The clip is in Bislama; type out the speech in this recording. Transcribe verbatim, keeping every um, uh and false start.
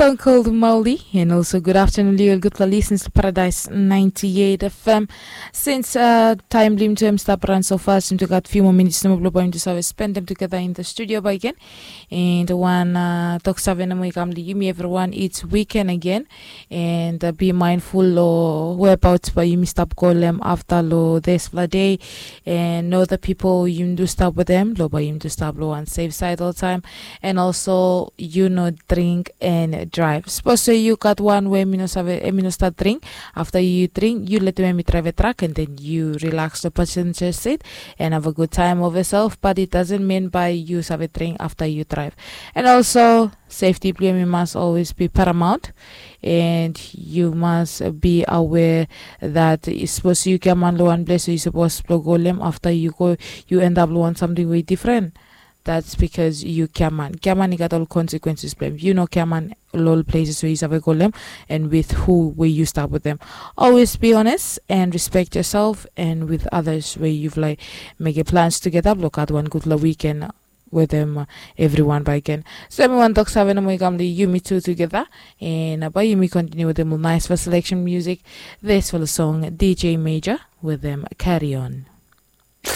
Stone Cold Mauli, and also good afternoon, liol gutpela listeners to Paradise ninety-eight F M. Since uh, time lim to him stop run so fast, him to got few more minutes, no problem to have spend them together in the studio by again. And one uh, talk seven mo ikamli yumi everyone, it's weekend again. And uh, be mindful o whereabouts by yumi stop call them after lo this day. And know the people you do stop with them, lo by you do stop lo on safe side all the time. And also you know drink and drive. Suppose so you got one way mi no save, eh, mi no start drink. After you drink, you let me drive a truck and then you relax the passenger seat and have a good time of yourself. But it doesn't mean by you save drink after you drive. And also safety blame must always be paramount. And you must be aware that suppose you come on lo one place, you suppose to go lem after you go, you end up lo one something way different. That's because you come on. Come on, you got all consequences blame. You know, come on, all places where you have a golem and with who where you start with them. Always be honest and respect yourself and with others where you've like make a plans together. Look at one good la weekend with them, uh, everyone by again. So everyone talks having a moigamli yumi two together. And uh, by yumi continue with them nice for selection music. This for the song D J Major with them carry on.